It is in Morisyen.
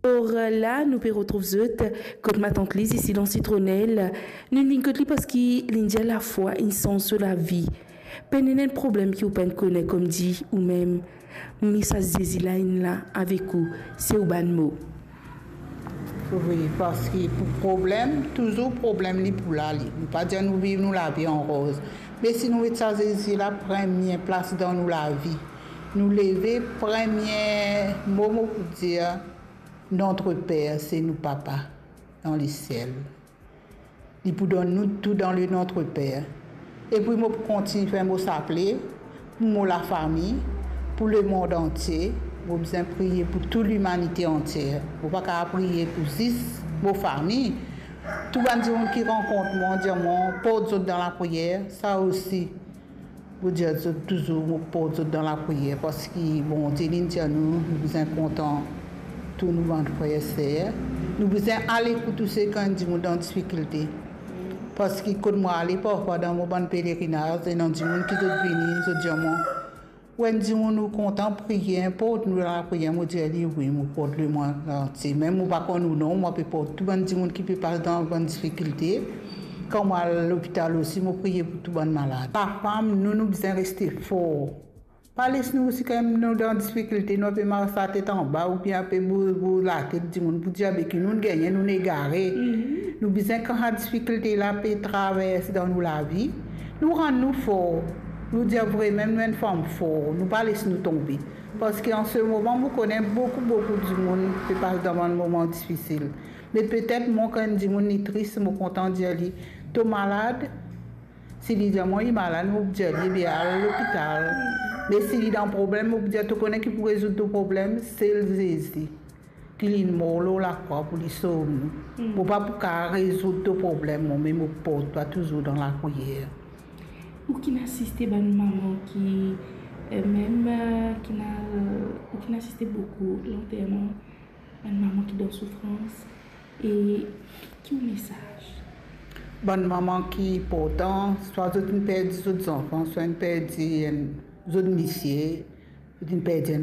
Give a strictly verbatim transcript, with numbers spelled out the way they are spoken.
Or, la, nou pe retrouv zot kot matant Liz isi dan Sitronel. Nou vinn kot li parski li dir lafwa inn sanz so lavi. Pena enn problem ki ou pa'nn kone koumsa ou mem. Me sa Zezi la inn la avek ou, se ou bann mo. Wi, parski pou problem, touzour problem li pou la li. Nou pa dir nou viv nou lavi an roz. Me si nou met sa Zezi la premie plas dan nou lavi, nou leve, premie mo mo pou dir, notre Père, se nou Papa dan lesiel. Li pou donn nou tou dan le Notre Père. Epi mo pou kontign fer mo saple pou mo lafami, pou lemond antie. Mo bizin priye pou tou limanite antier. Mo pa kapav priye pou zis mo fami. Tou bann dimoun ki rankont mwa, dir mwa, port zot dan lapriyer, sa osi. Mo dir zot touzour, mo port zot dan lapriyer, parski Bondie, li dir nou, nou bizin kontan tou nou bann frer, ser. Nou bizin ale pou touse kan enn dimoun dan difikilte. Parski kot mo ale, parfwa dan mo bann pelerinaz, ena dimoun ki zot vini, zot dir mwa, ou enn dimoun ou kontan priye, port nou dan lapriyer. Mo dir li, wi, mo port lemond antie. Mem mo pa konn ou non, mo pe port tou bann dimoun ki pe pas dan bann difikilte. Kan mo al lopital osi, mo priye pou tou bann malad. Lafam, nou, nou bizin reste for. Pa les nou osi kan nou dan difikilte, nou pe mars latet anba oubien pe bou-, bouz latet dimoun pou dir, be ki nou gagne, nou egare. Nou bizin kan sa difikilte la pe traverse dan nou lavi, nou rann nou for. Nou dir vremem nou enn fam for, nou pa les nou tonbe. Parski an se moman, mo kone boukou, boukou dimoun pe pas dan bann moman difisil. Me petet mwa, kan enn dimoun li tris, mo kontan dir li, to malad? Si li dir mwa li malad, mo pou dir li, be al lopital. Me si li dan problem, mo pou dir, to kone ki pou rezoud to problem? Sel Zezi. Ki li mor lor lakrwa pou li sov nou. Mo pa pou kapav rezoud to problem, mwa, me mo port twa touzour dan lapriyer. Ou ki'nn asiste bann mama ki, eh, mem, eh, ki'nn a, eh, ou ki'nn asiste boukou lanterman bann mama ki dan soufrans, e ki ou mesaz? Bann mama ki inportan, swa zot inn perdi zot zanfan, swa inn perdi enn, zot misie, zot inn perdi enn